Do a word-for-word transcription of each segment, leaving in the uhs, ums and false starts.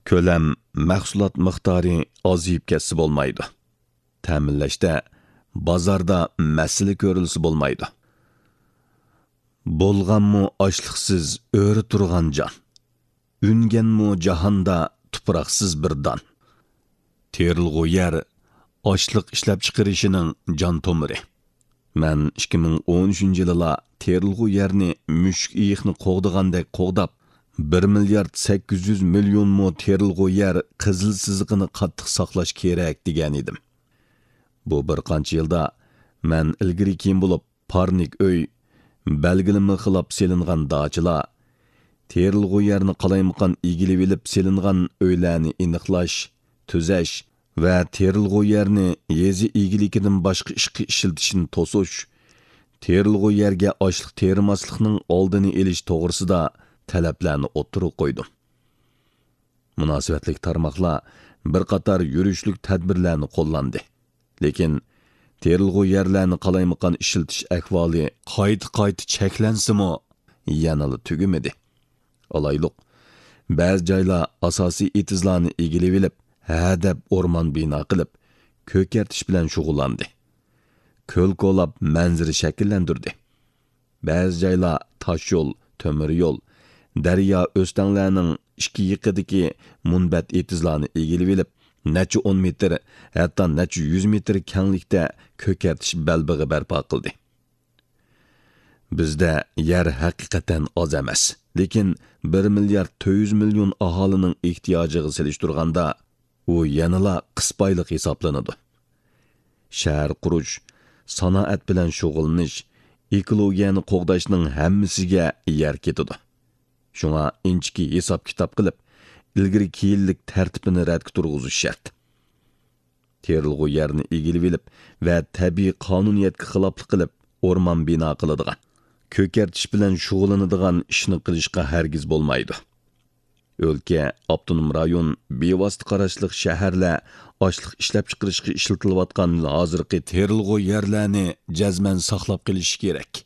كۆلەم، مەھسۇلات مىقدارى ئازىيىپ كەتسە بولمايدۇ. تەمىنلەشتە، بازاردا مەسىلە كۆرۈلسە بولمايدۇ. بولغانمۇ ئاشلىقسىز ئۆرە تۇرغان جان، ئۈنگەنمۇ جاھاندا تۇپراقسىز بىر دان. تېرىلغۇ يەر ئاشلىق ئىشلەپچىقىرىشىنىڭ جان تومۇرى. مەن ئىككى مىڭ ئون ئۈچىنچى يىلىلا تېرىلغۇ يەرنى مۈشۈك ئېيىقنى قوغدىغاندەك قوغداپ، بىر مىليارد سەككىز يۈز مىليون مو تېرىلغۇ يەر قىزىل سىزىقىنى قاتتىق ساقلاش كېرەك دېگەنىدىم. بۇ بىر قانچە يىلدا مەن ئىلگىرى كېيىن بولۇپ، پارنىك ئۆي، بەلگىلىمە خىلاپ سېلىنغان داچىلار، تېرىلغۇ يەرنى قالايمىقان ئىگىلىۋېلىپ سېلىنغان ئۆيلەرنى ئېنىقلاش، تۈزەش ۋە تېرىلغۇ يەرنى يېزا ئىگىلىكىدىن باشقا ئىشقا ئىشلىتىشنى توسۇش، تېرىلغۇ يەرگە ئاشلىق تېرىماسلىقنىڭ ئالدىنى ئېلىش توغرىسىدا تەلەپلەرنى ئوتتۇرىغا قويدۇم. مۇناسىۋەتلىك تارماقلار بىر قاتار يۈرۈشلۈك تەدبىرلەرنى قوللاندى. لېكىن تېرىلغۇ يەرلەرنى قالايمىقان ئىشلىتىش ئەھۋالى قايتا-قايتا چەكلەنسىمۇ، يەنىلا تۈگىمىدى. ئالايلۇق، بەزى جايلار ئاساسىي ئېتىزلارنى ئىگىلىۋېلىپ، ھە دەپ ئورمان بىنا قىلىپ، كۆكەرتىش بىلەن شۇغۇللاندى. كۆل كولاپ مەنزىرە شەكىللەندۈردى. بەزى جايلار تاشيول، تۆمۈر يول، دەريا ئۆستەڭلەرنىڭ ئىككى يېقىدىكى مۇنبەت ئېتىزلارنى ئىگىلىۋېلىپ، نەچچە ئون مېتىر، ھەتتا نەچچە يۈز مېتىر كەڭلىكتە كۆكەرتىش بەلبېغى بەرپا قىلدى. بىزدە يەر ھەقىقەتەن ئاز ئەمەس، لېكىن بىر مىليارد تۆت يۈز مىليون ئاھالىنىڭ ئېھتىياجىغا سېلىشتۇرغاندا، ئۇ يەنىلا قىسپايلىق ھېسابلىنىدۇ. شەھەر قۇرۇش، سانائەت بىلەن شۇغۇللىنىش، ئېكولوگىيەنى قوغداشنىڭ ھەممىسىگە يەر كېتىدۇ. شۇڭا ئىنچىكە ھېساب-كىتاب قىلىپ، ئىلگىرى كېيىنلىك تەرتىپىنى رەتكە تۇرغۇزۇش شەرت. تېرىلغۇ يەرنى ئىگىلىۋېلىپ ۋە تەبىئىي قانۇنىيەتكە خىلاپلىق قىلىپ ئورمان بىنا قىلىدىغان، كۆكەرتىش بىلەن شۇغۇللىنىدىغان ئىشنى قىلىشقا ھەرگىز بولمايدۇ. ئۆلكە، ئاپتونوم رايون، بىۋاسىتە قاراشلىق شەھەرلەر ئاشلىق ئىشلەپچىقىرىشقا ئىشلىتىلىۋاتقان ھازىرقى تېرىلغۇ يەرلەرنى جەزمەن ساقلاپ قېلىشى كېرەك.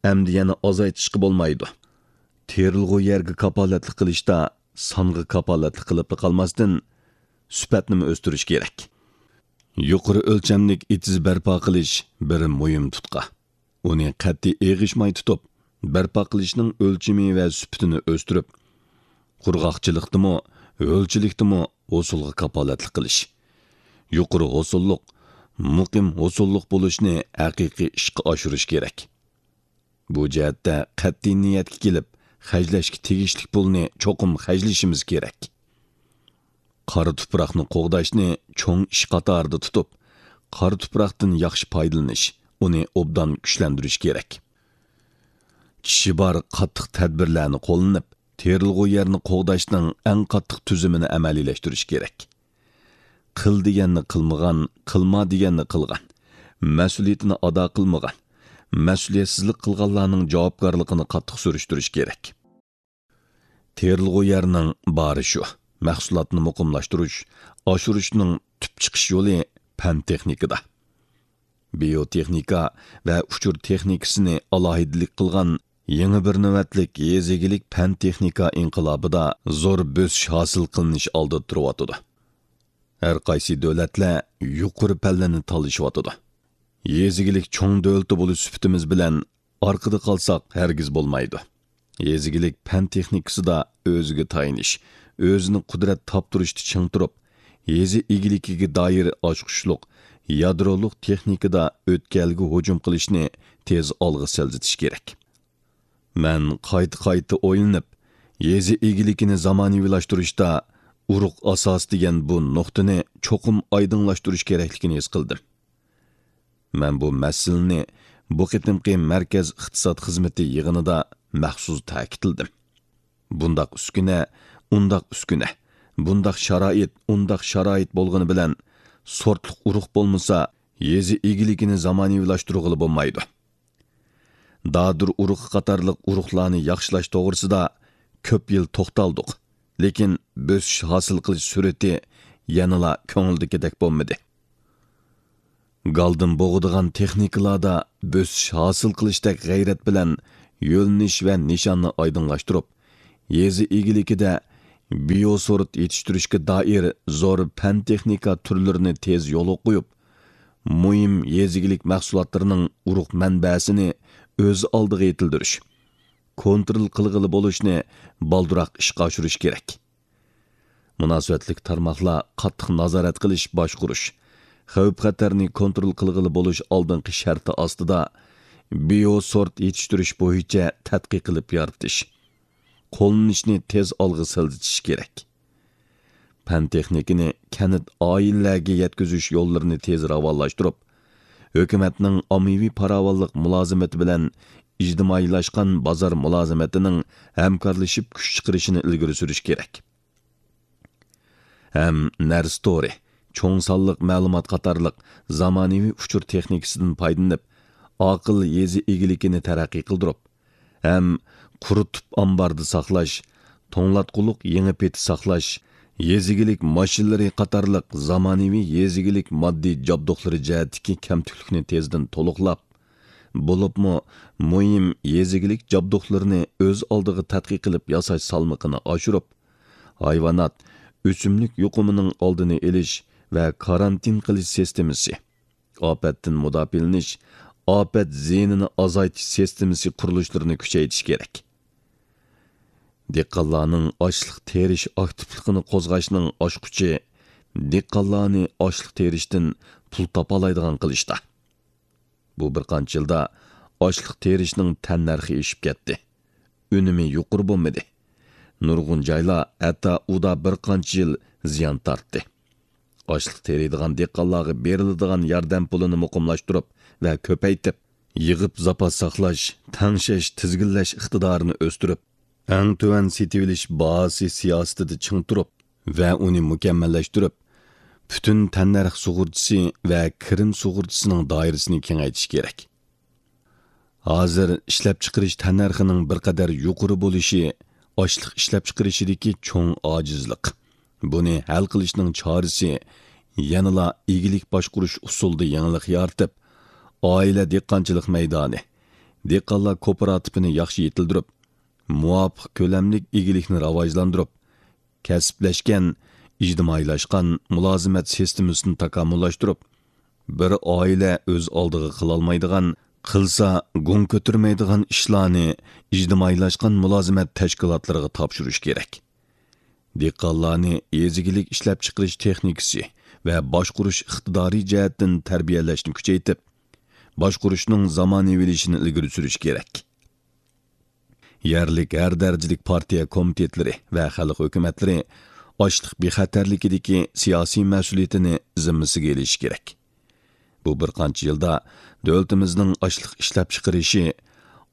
ئەمدى يەنە ئازايتىشقا بولمايدۇ. تېرىلغۇ يەرگە كاپالەتلىك قىلىشتا سانغا كاپالەتلىك قىلىپلا قالماستىن، سۈپەتنىمۇ ئۆستۈرۈش كېرەك. يۇقىرى ئۆلچەملىك ئېتىز بەرپا قىلىش بىر مۇھىم تۇتقا. ئۇنى قەتئىي ئېغىشماي تۇتۇپ، بەرپا قىلىشنىڭ ئۆلچىمى ۋە سۈپىتىنى ئۆستۈرۈپ، قۇرغاقچىلىقتىمۇ، ھۆلچىلىكتىمۇ ھوسۇلغا كاپالەتلىك قىلىش. يۇقىرى ھوسۇللۇق، مۇقىم ھوسۇللۇق بولۇشنى ھەقىقىي ئىشقا ئاشۇرۇش كېرەك. بۇ جەھەتتە قەتئىي نىيەتكە كېلىپ، خەجلەشكە تېگىشلىك پۇلنى چوقۇم خەجلىشىمىز كېرەك. قارا تۇپراقنى قوغداشنى چوڭ ئىش قاتارىدا تۇتۇپ، قارا تۇپراقتىن ياخشى پايدىلىنىش، ئۇنى ئوبدان كۈچلەندۈرۈش كېرەك. چىشى بار قاتتىق تەدبىرلەرنى قوللىنىپ، تېرىلغۇ يەرنى قوغداشنىڭ ئەڭ قاتتىق تۈزۈمىنى ئەمەلىيلەشتۈرۈش كېرەك. قىل دېگەننى قىلمىغان، قىلما دېگەننى قىلغان، مەسئۇلىيىتىنى ئادا قىلمىغان، مەسئۇلىيەتسىزلىك قىلغانلارنىڭ جاۋابكارلىقىنى قاتتىق سۈرۈشتۈرۈش كېرەك. تېرىلغۇ يەرنىڭ بارى شۇ، مەھسۇلاتنى مۇقىملاشتۇرۇش، ئاشۇرۇشنىڭ تۈپ چىقىش يولى پەن تېخنىكىدا. بىيوتېخنىكا ۋە ئۇچۇر تېخنىكىسىنى ئالاھىدىلىك قىلغان يېڭى بىر نۆۋەتلىك يېزا ئىگىلىك پەن تېخنىكا ئىنقىلابىدا زور بۆسۈش ھاسىل قىلىنىش ئالدىدا تۇرۇۋاتىدۇ. ھەر قايسى دۆلەتلەر يۇقىرى پەللىنى تالىشىۋاتىدۇ. يېزا ئىگىلىك چوڭ دۆلىتى بولۇش سۈپىتىمىز بىلەن ئارقىدا قالساق ھەرگىز بولمايدۇ. يېزا ئىگىلىك پەن تېخنىكىسىدا ئۆزىگە تايىنىش، ئۆزىنى قۇدرەت تاپتۇرۇشتا چىڭ تۇرۇپ، يېزا ئىگىلىكىگە دائىر ئاچقۇچلۇق يادرولۇق تېخنىكىدا ئۆتكەلگە ھۇجۇم قىلىشنى تېز ئالغا سىلجىتىش كېرەك. مەن قايتا-قايتا ئويلىنىپ، يېزا ئىگىلىكىنى زامانىۋىلاشتۇرۇشتا ئۇرۇق ئاساسى دېگەن بۇ نۇقتىنى چوقۇم ئايدىڭلاشتۇرۇش كېرەكلىكىنى ھېس قىلدىم. مەن بۇ مەسىلىنى بۇ قېتىمقى مەركەز ئىقتىساد خىزمىتى يىغىنىدا مەخسۇس تەكىتلىدىم. بۇنداق ئۈسكۈنە، ئۇنداق ئۈسكۈنە، بۇنداق شارائىت، ئۇنداق شارائىت بولغىنى بىلەن، سورتلۇق ئۇرۇق بولمىسا، يېزا ئىگىلىكىنى زامانىۋىلاشتۇرغىلى بولمايدۇ. دادۇر ئۇرۇقى قاتارلىق ئۇرۇقلارنى ياخشىلاش توغرىسىدا كۆپ يىل توختالدۇق، لېكىن بۆسۈش ھاسىل قىلىش سۈرئىتى يەنىلا كۆڭۈلدىكىدەك بولمىدى. گالدىن بوغىدىغان تېخنىكىلاردا بۆسۈش ھاسىل قىلىشتەك غەيرەت بىلەن يۆنىلىش ۋە نىشاننى ئايدىڭلاشتۇرۇپ، يېزا ئىگىلىكىدە بىيوسورت يېتىشتۈرۈشكە دائىر زور پەن-تېخنىكا تۈرلىرىنى تېز يولغا قويۇپ، مۇھىم يېزا ئىگىلىك مەھسۇلاتلىرىنىڭ ئۇرۇق مەنبەسىنى ئۆز ئالدىغا يېتىلدۈرۈش، كونترول قىلغىلى بولۇشنى بالدۇرراق ئىشقا ئاشۇرۇش كېرەك. مۇناسىۋەتلىك تارماقلار قاتتىق نازارەت قىلىش، باشقۇرۇش، خەۋپ-خەتەرنى كونترول قىلغىلى بولۇش ئالدىنقى شەرتى ئاستىدا بىيوسورت يېتىشتۈرۈش بويىچە تەتقىق قىلىپ يارىتىش، قوللىنىشنى تېز ئالغا سىلجىتىش كېرەك. پەن-تېخنىكىنى كەنت، ئائىلىلەرگە يەتكۈزۈش يوللىرىنى تېز راۋانلاشتۇرۇپ، ھۆكۈمەتنىڭ ئاممىۋى پاراۋانلىق مۇلازىمىتى بىلەن ئىجتىمائىيلاشقان بازار مۇلازىمىتىنىڭ ھەمكارلىشىپ كۈچ چىقىرىشىنى ئىلگىرى سۈرۈش كېرەك. ھەم نەرسە تورى، چوڭ سانلىق مەلۇمات قاتارلىق زامانىۋى ئۇچۇر تېخنىكىسىدىن پايدىلىنىپ، ئاقىل يېزا ئىگىلىكىنى تەرەققىي قىلدۇرۇپ، ھەم قۇرۇتۇپ ئامباردا ساقلاش، توڭلاتقۇلۇق يېڭى پېتى ساقلاش، يېزا ئىگىلىك ماشىنىلىرى قاتارلىق زامانىۋى يېزا ئىگىلىك ماددىي جابدۇقلىرى جەھەتتىكى كەمتۈكلۈكنى تېزدىن تولۇقلاپ، بولۇپمۇ مۇھىم يېزا ئىگىلىك جابدۇقلىرىنى ئۆز ئالدىغا تەتقىق قىلىپ ياساش سالمىقىنى ئاشۇرۇپ، ھايۋانات، ئۆسۈملۈك يۇقۇمىنىڭ ئالدىنى ئېلىش ۋە كارانتىن قىلىش سىستېمىسى، ئاپەتتىن مۇداپىئەلىنىش، ئاپەت زىيىنىنى ئازايتىش سىستېمىسى قۇرۇلۇشلىرىنى كۈچەيتىش كېرەك. دېھقانلارنىڭ ئاشلىق تېرىش ئاكتىپلىقىنى قوزغاشنىڭ ئاچقۇچى دېھقانلارنى ئاشلىق تېرىشتىن پۇل تاپالايدىغان قىلىشتا. بۇ بىر قانچە يىلدا ئاشلىق تېرىشنىڭ تەننەرخى ئېشىپ كەتتى. ئۈنۈمى يۇقىرى بولمىدى. نۇرغۇن جايلار ھەتتا ئۇدا بىر قانچە يىل زىيان تارتتى. ئاشلىق تېرىيدىغان دېھقانلارغا بېرىلىدىغان ياردەم پۇلىنى مۇقىملاشتۇرۇپ ۋە كۆپەيتىپ، يىغىپ زاپاس ساقلاش، تەڭشەش، تىزگىنلەش ئىقتىدارىنى ئۆستۈرۈپ، ئەڭ تۆۋەن سېتىۋېلىش باھاسى سىياسىتىدە چىڭ تۇرۇپ ۋە ئۇنى مۇكەممەللەشتۈرۈپ، پۈتۈن تەننەرخ سۇغۇرتىسى ۋە كىرىم سۇغۇرتىسىنىڭ دائىرىسىنى كېڭەيتىش كېرەك. ھازىر ئىشلەپچىقىرىش تەننەرخىنىڭ بىر قەدەر يۇقىرى بولۇشى ئاشلىق ئىشلەپچىقىرىشىدىكى چوڭ ئاجىزلىق. بۇنى ھەل قىلىشنىڭ چارىسى يەنىلا ئىگىلىك باشقۇرۇش ئۇسۇلىدا يېڭىلىق يارىتىپ، ئائىلە دېھقانچىلىق مەيدانى، دېھقانلار كوپىراتىپىنى ياخشى يېتىلدۈرۈپ، مۇۋاپىق كۆلەملىك ئىگىلىكنى راۋاجلاندۇرۇپ، كەسىپلەشكەن، ئىجتىمائىيلاشقان مۇلازىمەت سىستېمىسىنى تاكامۇللاشتۇرۇپ، بىر ئائىلە ئۆز ئالدىغا قىلالمايدىغان، قىلسا گۇڭ كۆتۈرمەيدىغان ئىشلارنى ئىجتىمائىيلاشقان مۇلازىمەت تەشكىلاتلىرىغا تاپشۇرۇش كېرەك. دېھقانلارنى يېزا ئىگىلىك ئىشلەپچىقىرىش تېخنىكىسى ۋە باشقۇرۇش ئىقتىدارى جەھەتتىن تەربىيەلەشنى كۈچەيتىپ، باشقۇرۇشنىڭ زامانىۋىلىشىشىنى ئىلگىرى سۈرۈش كېرەك. يەرلىك ھەر دەرىجىلىك پارتىيە كومىتېتلىرى ۋە خەلق ھۆكۈمەتلىرى ئاشلىق بىخەتەرلىكىدىكى سىياسىي مەسئۇلىيىتىنى زىممىسىگە ئېلىشى كېرەك. بۇ بىر قانچە يىلدا دۆلىتىمىزنىڭ ئاشلىق ئىشلەپچىقىرىشى،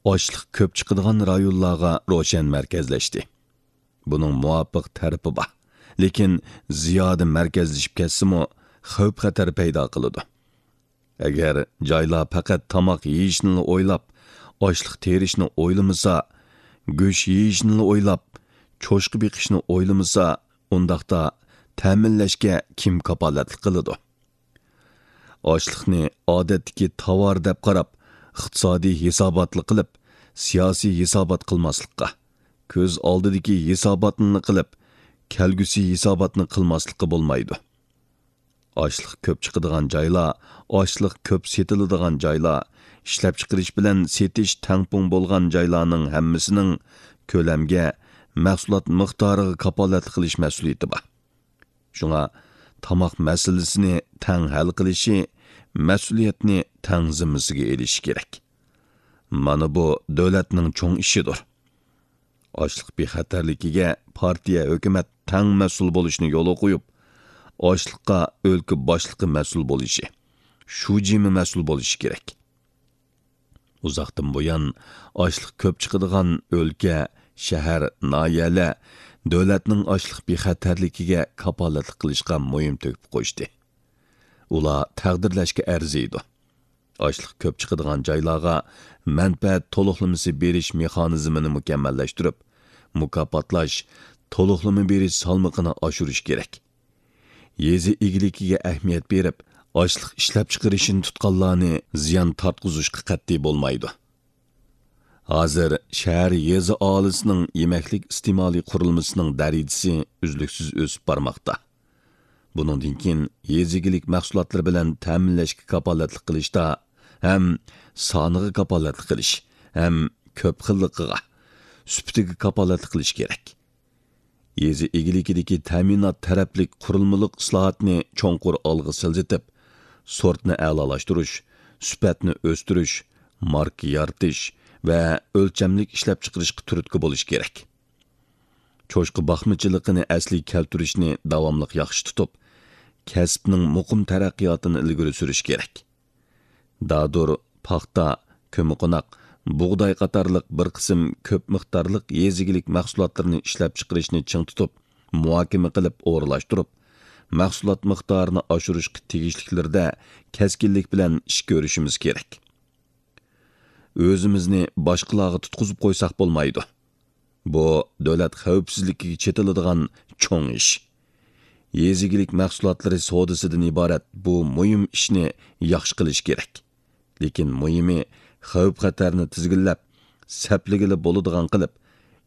ئاشلىق كۆپ چىقىدىغان رايونلارغا روشەن مەركەزلەشتى. بۇنىڭ مۇۋاپىق تەرىپى بار، لېكىن زىيادە مەركەزلىشىپ كەتسىمۇ، خەۋپ-خەتەر پەيدا قىلىدۇ. ئەگەر جايلار پەقەت تاماق يېيىشنىلا ئويلاپ، ئاشلىق تېرىشنى ئويلىمىسا، گۆش يېيىشنىلا ئويلاپ، چوشقا بېقىشنى ئويلىمىسا، ئۇنداقتا تەمىنلەشكە كىم كاپالەتلىك قىلىدۇ؟ ئاشلىقنى ئادەتتىكى تاۋار دەپ قاراپ، ئىقتىسادىي ھېساباتلا قىلىپ، سىياسىي ھېسابات قىلماسلىققا، كۆز ئالدىدىكى ھېساباتنىلا قىلىپ، كەلگۈسى ھېساباتنى قىلماسلىققا بولمايدۇ. ئاشلىق كۆپ چىقىدىغان جايلار، ئاشلىق كۆپ سېتىلىدىغان جايلار، ئىشلەپچىقىرىش بىلەن سېتىش تەڭپۇڭ بولغان جايلارنىڭ ھەممىسىنىڭ كۆلەمگە، مەھسۇلات مىقدارىغا كاپالەتلىك قىلىش مەسئۇلىيىتى بار. شۇڭا تاماق مەسىلىسىنى تەڭ ھەل قىلىشى، مەسئۇلىيەتنى تەڭ زىممىسىگە ئېلىشى كېرەك. مانا بۇ دۆلەتنىڭ چوڭ ئىشىدۇر. ئاشلىق بىخەتەرلىكىگە پارتىيە، ھۆكۈمەت تەڭ مەسئۇل بولۇشنى يولغا قويۇپ، ئاشلىققا ئۆلكە باشلىقى مەسئۇل بولۇشى، شۇجىمۇ مەسئۇل بولۇشى كېرەك. ئۇزاقتىن بۇيان ئاشلىق كۆپ چىقىدىغان ئۆلكە، شەھەر، ناھىيەلەر دۆلەتنىڭ ئاشلىق بىخەتەرلىكىگە كاپالەتلىك قىلىشقا مۇھىم تۆھپە قوشتى. ئۇلار تەقدىرلەشكە ئەرزىيدۇ. ئاشلىق كۆپ چىقىدىغان جايلارغا مەنپەئەت تولۇقلىمىسى بېرىش مېخانىزمىنى مۇكەممەللەشتۈرۈپ، مۇكاپاتلاش، تولۇقلىما بېرىش سالمىقىنى ئاشۇرۇش كېرەك. يېزا ئىگىلىكىگە ئەھمىيەت بېرىپ، ئاشلىق ئىشلەپچىقىرىشنى تۇتقانلارنى زىيان تارتقۇزۇشقا قەتئىي بولمايدۇ. ھازىر شەھەر يېزا ئاھالىسىنىڭ يېمەكلىك ئىستېمالى قۇرۇلمىسىنىڭ دەرىجىسى ئۈزلۈكسىز ئۆسۈپ بارماقتا. بۇنىڭدىن كېيىن يېزا ئىگىلىك مەھسۇلاتلىرى بىلەن تەمىنلەشكە كاپالەتلىك قىلىشتا ھەم سانىغا كاپالەتلىك قىلىش، ھەم كۆپ خىللىقىغا، سۈپىتىگە كاپالەتلىك قىلىش كېرەك. يېزا ئىگىلىكىدىكى تەمىنات تەرەپلىك قۇرۇلمىلىق ئىسلاھاتنى چوڭقۇر ئالغا سىلجىتىپ، سورتنى ئەلالاشتۇرۇش، سۈپەتنى ئۆستۈرۈش، ماركا يارىتىش ۋە ئۆلچەملىك ئىشلەپچىقىرىشقا تۈرتكە بولۇش كېرەك. چوشقا باقمىچىلىقىنى ئەسلىگە كەلتۈرۈشنى داۋاملىق ياخشى تۇتۇپ، كەسىپنىڭ مۇقىم تەرەققىياتىنى ئىلگىرى سۈرۈش كېرەك. دادۇر، پاختا، كۆممىقوناق، بۇغداي قاتارلىق بىر قىسىم كۆپ مىقدارلىق يېزا ئىگىلىك مەھسۇلاتلىرىنى ئىشلەپچىقىرىشنى چىڭ تۇتۇپ، مۇھاكىمە قىلىپ ئورۇنلاشتۇرۇپ، مەھسۇلات مىقدارىنى ئاشۇرۇشقا تېگىشلىكلىرىدە كەسكىنلىك بىلەن ئىش كۆرۈشىمىز كېرەك. ئۆزىمىزنى باشقىلارغا تۇتقۇزۇپ قويساق بولمايدۇ. بۇ دۆلەت خەۋپسىزلىكىگە چېتىلىدىغان چوڭ ئىش. يېزا ئىگىلىك مەھسۇلاتلىرى سودىسىدىن ئىبارەت بۇ مۇھىم ئىشنى ياخشى قىلىش كېرەك. لېكىن مۇھىمى، خەۋپ-خەتەرنى تىزگىنلەپ، سەپلىگىلى بولىدىغان قىلىپ،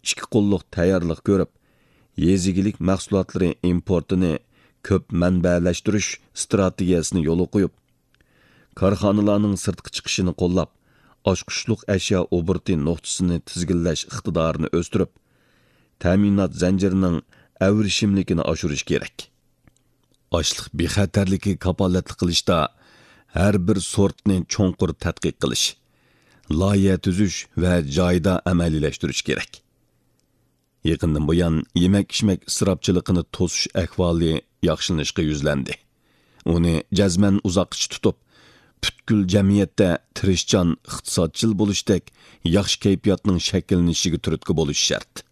ئىككى قوللۇق تەييارلىق كۆرۈپ، يېزا ئىگىلىك مەھسۇلاتلىرى ئىمپورتىنى كۆپ مەنبەلەشتۈرۈش ئىستراتېگىيەسىنى يولغا قويۇپ، كارخانىلارنىڭ سىرتقا چىقىشىنى قوللاپ، ئاچقۇچلۇق ئەشيا ئوبوروتى نۇقتىسىنى تىزگىنلەش ئىقتىدارىنى ئۆستۈرۈپ، تەمىنات زەنجىرىنىڭ ئەۋرىشىملىكىنى ئاشۇرۇش كېرەك. ئاشلىق بىخەتەرلىكىگە كاپالەتلىك قىلىشتا ھەر بىر سورتنى چوڭقۇر تەتقىق قىلىش، لايىھە تۈزۈش ۋە جايىدا ئەمەلىيلەشتۈرۈش كېرەك. يېقىندىن بۇيان يېمەك-ئىچمەك ئىسراپچىلىقىنى توسۇش ئەھۋالى ياخشىلىنىشقا يۈزلەندى. ئۇنى جەزمەن ئۇزاققىچە تۇتۇپ، پۈتكۈل جەمئىيەتتە تىرىشچان، ئىقتىسادچىل بولۇشتەك ياخشى كەيپىياتنىڭ شەكىللىنىشىگە تۈرتكە بولۇش شەرت.